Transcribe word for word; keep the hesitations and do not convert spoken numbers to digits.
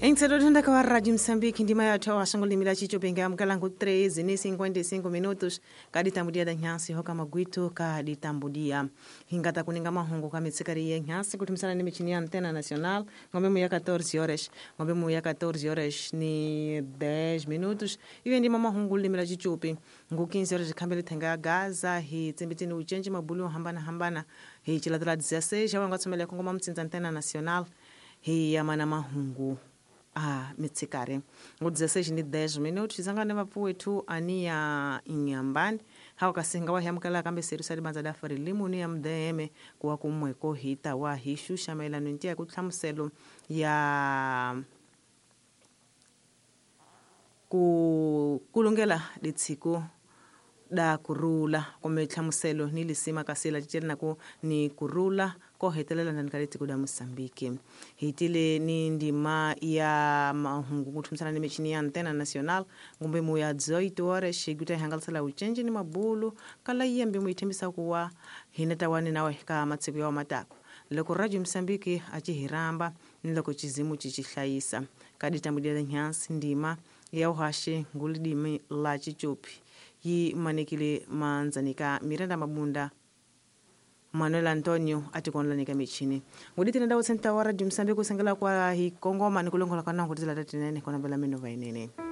Em wa Rádio Moçambique, ndima ya toa shangolimila chicho penga mkalangu treze ni cinquenta e cinco minutos kaditambudia da nyansi hoka magwitu kaditambudia hingata kuninga mahungu kamitsikari ya nyansi kutumisana ni michini ya Antena Nacional ngombe mu ya quatorze horas ngombe mu ya quatorze horas ni dez minutos iwe ndima mahungu limila chichupi ngu quinze horas khambele thenga ya Gaza hi tsimbitini uchenji mabulu hambana hambana hi chilatela dezesseis ya wanga tsomele kongoma mtsinza Antena Nacional hi yamana mahungu a mitsikari ngo dezesseis ni dez minutos zangane vapfuwethu ania inyambani hawa kasinga wa hyamukela kambe seru sali banza da fari limuni ya mdeme kuwa kumweko hita wa hishusha maelano ntia kutlhamuselo ya ku kulungela ditsiko da kurula kumbe hlamuselo ni lisima kasela cicela ku ni kurula ko hetelela ndani ka litiko da Moçambique hitile ni ndima ya mahungu kuthumisana ni michini ya Antena Nacional ngumbe mu ya dezoito horas xiguta ihangalisela ucenji ni mabulu kala yembe mu ithembisa kuwa hineta wani nawe ka matsiko ya matako loko Radio Moçambique a ci hiramba ni loko cizimu ci ci hlayisa kaditambulela nyansi ndima ya uhashe ngulidimi la cicupi yi manekile manzanika Miranda Mabunda Manuel Antonio atikonlanika michini nguditine ndawo senta wa Radio Moçambique kusengela kwa hi kongoma ni kulongola kana ngudizela tatinene kona bela mino vainene.